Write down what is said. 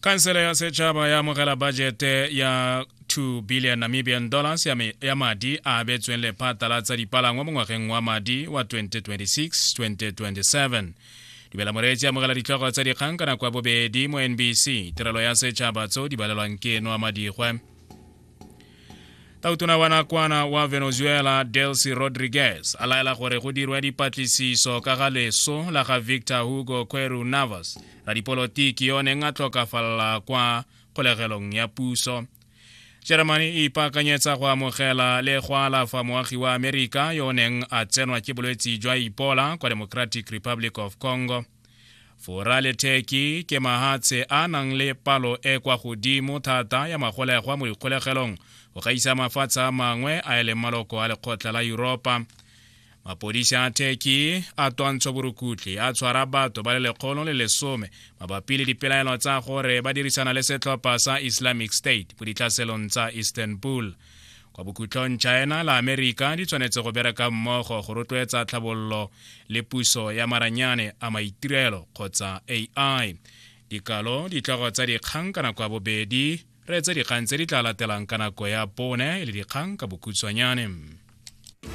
Khansele ya setšhaba ya amogela bajete ya 2 billion Namibian dollars ya madi a abetsweng lephata la tsa dipalangwa mo ngwageng wa madi wa 2026-2027. Dumela moreetsi, amogela ditlhogo tsa dikgang ka nako ya bobedi mo NBC, tirelo ya setšhaba tso di balelwang ke Noa Madigwe. Tautona wa nakwana wa Venezuela Delcy Rodriguez a laela gore go dirwe dipatlisiso ka ga leso la ga Victor Hugo Queru Navas, radipolotiki yo neng a tlhokafalela kwa kgolegelong ya puso. Germany e ipaakanyetsa go amogela le go alafa moagi wa Amerika yo o neng a tsenwa ke bolwetsi jwa Ebola kwa Democratic Republic of Congo. Fora le Turkey ke mahatshe a nang le palo e kwa godimo thata ya magolegwa mo dikgolegelong go gaisa mafatshe a mangwe a e leng maloko a lekgotla la Yuropa. Mapodisi a Turkey a twantsho borukutlhi a tshwara batho ba le 110 mabapi le dipelaelo tsa gore ba dirisana le setlhopha sa Islamic State mo ditlhaselong tsa Istanbul. Kwa bokhutlong, China le Amerika di tshwanetse go bereka mmogo go rotloetsa tlhabololo le puso ya maranyane a maitirelo kgotsa AI. Dikalo ditlhogo tsa dikgang ka nako ya bobedi, reetse dikgang tse di tla latelang ka nako ya bone e le dikgang ka bokhutshwanyane.